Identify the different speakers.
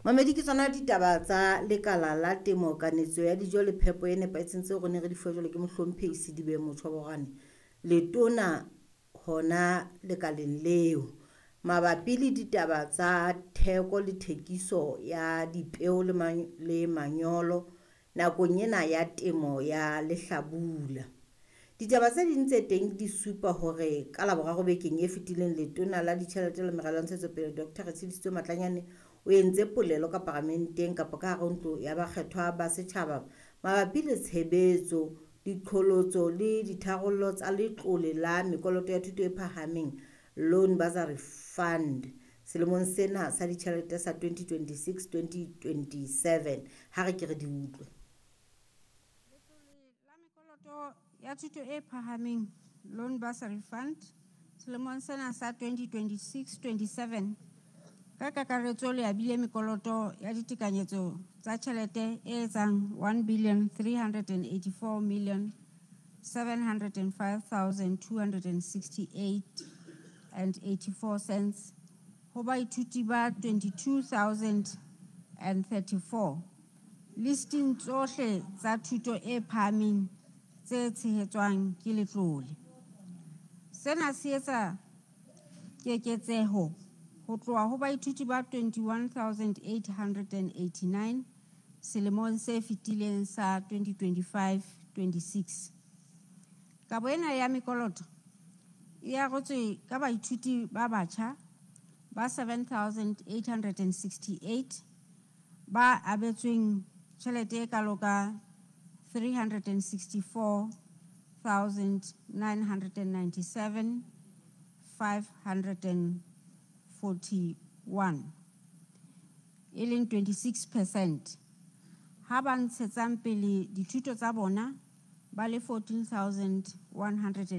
Speaker 1: Mamedi, ke tsona ditaba tsa lekala la temo, kanetso ya dijo le phepo e nepahetseng tseo re ne re di fuwa jwale ke mohlomphehi Sedibe Motjhoborane, letona hona lekaleng leo. Mabapi le ditaba tsa theko le thekiso ya dipeo le manyolo nakong ena ya temo ya lehlabula. Ditaba tse ding tse teng di supa hore ka Laboraro bekeng e fetileng letona la ditjhelete le meralo ya ntshetsopele Dr. Retshidisitswe Matlanyane o entse polelo ka paramenteng kapa ka hare ho ntlo ya bakgethwa ba setjhaba mabapi le tshebetso, diqholotso le ditharollo tsa letlole la mekoloto ya thuto e phahameng Loan Bursary Fund selemong sena sa ditjhelete sa 2026-2027. Ha re ke re di utlwe.
Speaker 2: Letlole la mekoloto ya thuto e phahameng Loan Bursary Fund selemong sena sa 2026-27 ka kakaretso le abile mekoloto ya ditekanyetso tsa tjhelete e etsang 1 billion 384 million 705 268 and 84 cents ho baithuti ba 22 034 listing tsohle tsa thuto e phahameng tse tshehetswang ke letlole. Sena se etsa keketseho ho tloha ho baithuti ba 21 889 selemong se fetileng sa 2025-26. Kabo ena ya mekoloto e arotswe ka baithuti ba batjha ba 7 868 ba abetsweng tjhelete e kalo ka 364 997 541, e leng 26%, ha ba ntshetsang pele dithuto tsa bona ba le 14 100.